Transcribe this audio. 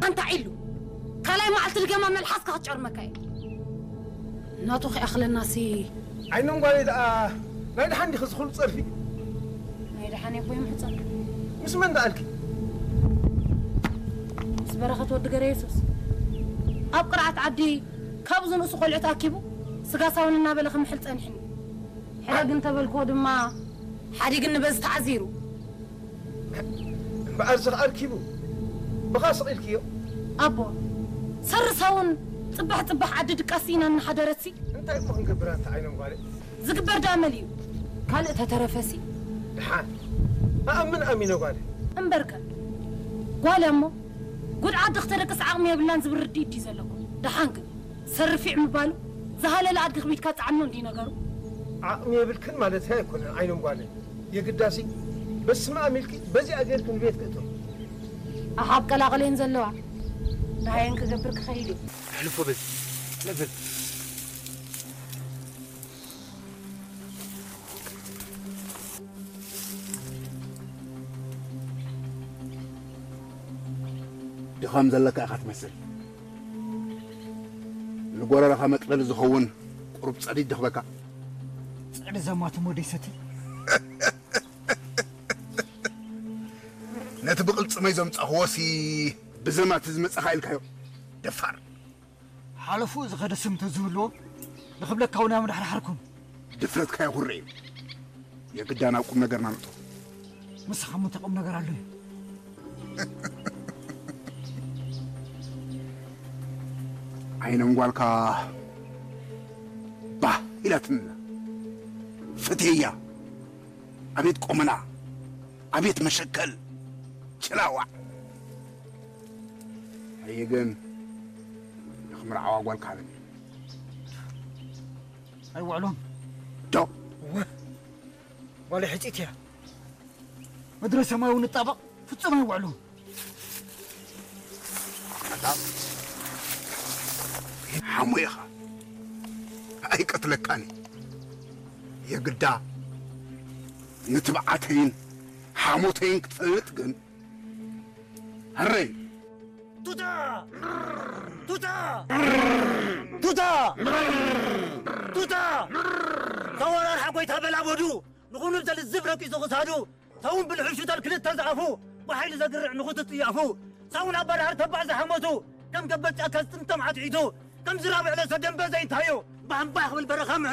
ኣንታ ዒሉ፣ ካልኣይ መዓልቲ ድገማ መልሓስካ ክትጨርመካ እየ። ናቱ ከይኣኽለናሲ። ዓይኖም ጓለይ ደኣ ናይ ደሓን ዲኺ ዝኹሉ ጸርፊ? ናይ ደሓን ኣቦይ ምሕጸን። ምስ መን ደኣልኪ? ምስ በረኸት ወዲ ገረ የሱስ። ኣብ ቅርዓት ዓዲ ካብዚ ንእሱ ቆልዑ ተኣኪቡ ስጋ ሳውን እናበለ ክምሕል ጸኒሕኒ። ሕደግ እንተበልክዎ ድማ ሓዲግኒ በዚ ተዓዚሩ። እምበኣር እዚ ኸኣ ኣርኪቡ ብኻ ስቕ ኢልክዮ። ኣቦ፣ ሰሪ ሳውን ጽባሕ ጽባሕ ዓዲ ድቃስ ኢና እናሓደረትሲ። እንታይ እሞ ክንገብር ኣንታ ዓይኖም ጓለይ? ዝግበር ደኣ መሊኡ። ካልእ ተተረፈሲ። ደሓን። ኣኣምን ኣሚነ ጓለይ። እምበርከ፣ ጓል እሞ ጉድ ዓዲ ክተደቅስ ዓቕሚ የብላን ዝብል ርድኢት ድዩ ዘለኩም? ደሓን ግን፣ ሰርፊዕ ምባሉ ዝሃለለ ኣድጊ ክቢድካ ጻዕኖ እንዲ ነገሩ። ዓቕሚ የብልክን ማለት ኣይኮነን ዓይኖም ጓለይ። የግዳሲ በስመ ኣብ ኢልኪ በዚኣ ጌርኪ ንቤት ክእቶ። ኣሓብ ቀላቕለን ዘለዋ። ደሃየን ክገብር ክኸይድ እዩ። ኣሕልፎ በዚ። ነብል። ድኻም ዘለካ ኢኻ ትመስል። ንጎረረኻ መጥለሊ ዝኸውን ቁሩብ ጸዲድ ድኽበካ። ጸዲ ዘማትም ወደይ ሰቲ። ነቲ ብቕልጽመይ ዘምጻኽዎሲ ብዘማት ዝመጻኻ ኢልካዮ። ደፋር። ሓለፉ ዝኸደ ስም እንተዝህልዎ ንኽብለካ እውን ኣመዳሕዳሕርኩም። ድፍረትካ የኹርዕ እዩ። የግዳ ናብ ቁም ነገርና ንእቶ። ንስኻ ምን ተቕም ነገር ኣሎ እዩ። ዓይኖም ጓልካ ባህ ኢላትንና። ፍትያ። ኣቤት ቆመና። ኣቤት መሸከል። ጭላዋ። ኣየ ግን ንኽምርዓዋ ጓልካ ሃበኒ። ኣይውዕሎም። ዶ? እወ። ጓለይ ሕጺት እያ። ምድረ ሰማይ እውን ንጣበቕ ፍጹም ኣይውዕሎም። ኣታ ሓሙ ኢኻ። ኣይቀትለካኒ። የግዳ ንትብዓተይን ሓሞተይን ክትፈልጥ ግን። ኣረይ። ቱታ! ቱታ! ቱታ! ቱታ! ተወራርሓ ጎይታ በላበዱ ንኹኑ ዘልዝብ ረቂጹ ክሳዱ። ሳውን ብልሑሹ ተል ክልተ ዝኣፉ ብሓይሊ ዘግርዕ ንኹቱ ጥያፉ። ሳውን ኣባዳህር ተባዕ ዝሓመቱ ከም ገበት ጫካ ዝጥምጠም ዓትዒቱ ከም ዝራብዕ ለሰ ደንበ ዘይንታዩ ባሕምባሕ ክብል በረኻ ምዕዳ